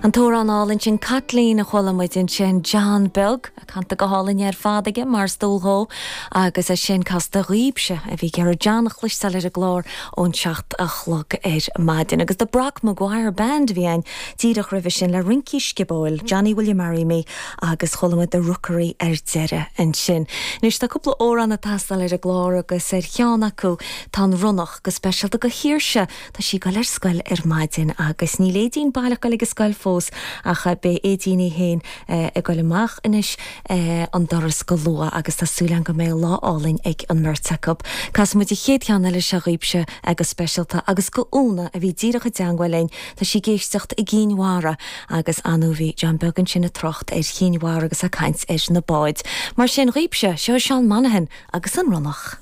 An t-amhrán álainn sin 'Caitlín' a chuala muid ansin, John Beag, canta go hálainn ar fad aige, mar is dual dhó, agus é sin casta dhaoibhse a bhí ag iarraidh John a chloisteáil ar an gclár ón 7 a chlog ar maidin. Agus The Brock Maguire Band a bhí ann díreach roimhe sin le Rincí Sciobóil, Johnny Will You Marry Me agus chuala muid The Rookery ar deireadh ansin. Anois tá cúpla amhrán ag teastáil ar an gclár agus ar cheann acu tá an Ronnach, go speisialta do Shaoirse, Tá sí ag goil ar scoil ar maidin agus níl Aedín baileach goil ag an scoil fós ach beidh Aedín í féin ag goil amach anois an doras go luath agus tá súil agam go mbeidh lá álainn ag an mbeirt acu. Casfaidh muid an chéad cheann eile seo dhaoibhse go speisialta agus go Úna a bhí díreach i dteangmháil linn, tá sí ag éisteacht i gCinn Mhara agus ar ndóigh bhí John Beag ansin ag trácht ar Chinn Mhara agus ag caint ar na báid. Mar sin dhaoibhse, seo Seán Monaghan agus an Ronnach.